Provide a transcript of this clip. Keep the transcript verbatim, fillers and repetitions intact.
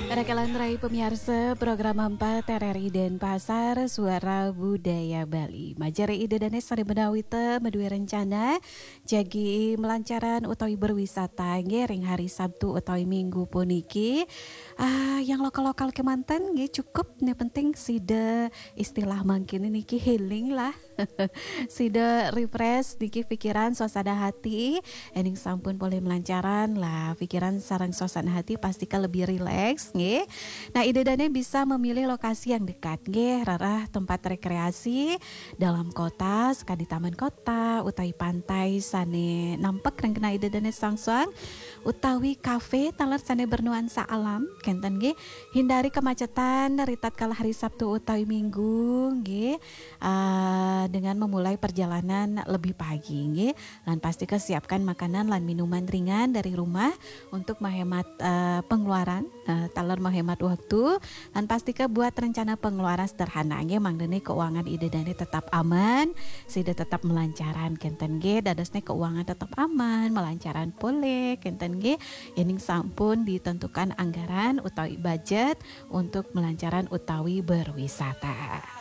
Para kalantarai pamiarsa program empat R R I Denpasar, Suara Budaya Bali. Majare Ida dané sané ménawi ta madué rencana jagi melancaran utawi berwisata nggih ring hari Sabtu utawi Minggu puniki. Ah, yang lokal-lokal kémanten nggih cukup, yang penting sida istilah mangkin niki healing lah. Sida refresh niki pikiran, suasana hati, éning sampun polih melancaran lah, pikiran sareng suasana hati pastika lebih rileks nggih. Nah, Ida dané bisa memilih lokasi yang dekat nggih, rereh tempat rekreasi dalam kota, sakadi taman kota utawi pantai sané nampek ring genah Ida dané soang-soang, utawi kafe taler sané bernuansa alam kénten nggih. Hindari kemacetan ritatkala hari Sabtu utawi Minggu nggih. Ah, dengan memulai perjalanan lebih pagi nggih. Lan pastika siapkan makanan lan minuman ringan dari rumah untuk menghemat, eh, pengeluaran, eh, taler menghemat waktu. Lan pastika buat rencana pengeluaran sederhana nggih, mangdané keuangan Ida dané tetap aman, sida tetap melancaran kénten nggih, dadosné keuangan tetap aman, melancaran polih kénten nggih. Éning sampun ditentukan anggaran utawi budget untuk melancaran utawi berwisata.